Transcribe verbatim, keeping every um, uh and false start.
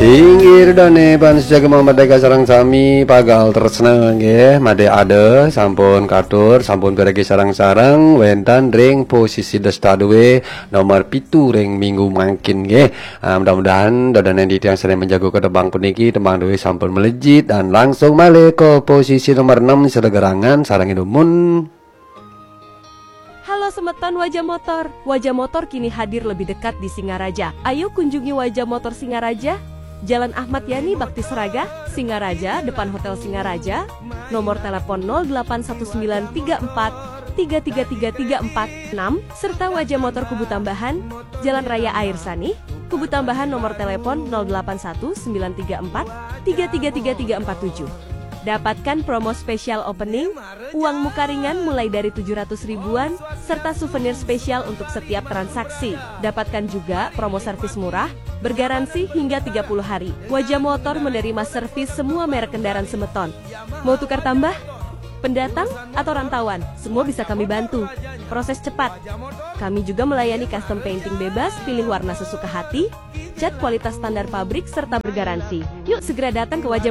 Inggih dane panjenengan Merdeka sareng sami pagal tresna nggih, made ada sampun katur, sampun piragi sareng-sareng wenten ring posisi desta duwe nomor pitu ring minggu mangkin nggih. Ah, mudah-mudahan dodane titiang sane menjaga ke tembang puniki, tembang duwe sampun melejit dan langsung malih ke posisi nomor enam sedegerangan sareng dumun. Halo semeton Wajah Motor. Wajah Motor kini hadir lebih dekat di Singaraja. Ayo kunjungi Wajah Motor Singaraja, Jalan Ahmad Yani Bakti Seraga, Singaraja, depan Hotel Singaraja. Nomor telepon nol delapan satu sembilan tiga empat tiga tiga tiga tiga empat enam serta Wajah Motor Kubu Tambahan, Jalan Raya Air Sanih, Kubu Tambahan nomor telepon nol delapan satu sembilan tiga empat tiga tiga tiga tiga empat tujuh. Dapatkan promo spesial opening, uang muka ringan mulai dari tujuh ratus ribuan, serta souvenir spesial untuk setiap transaksi. Dapatkan juga promo servis murah, bergaransi hingga tiga puluh hari. Wajah Motor menerima servis semua merek kendaraan semeton. Mau tukar tambah? Pendatang atau rantauan, semua bisa kami bantu. Proses cepat. Kami juga melayani custom painting bebas, pilih warna sesuka hati, cat kualitas standar pabrik, serta bergaransi. Yuk segera datang ke Wajah Motor.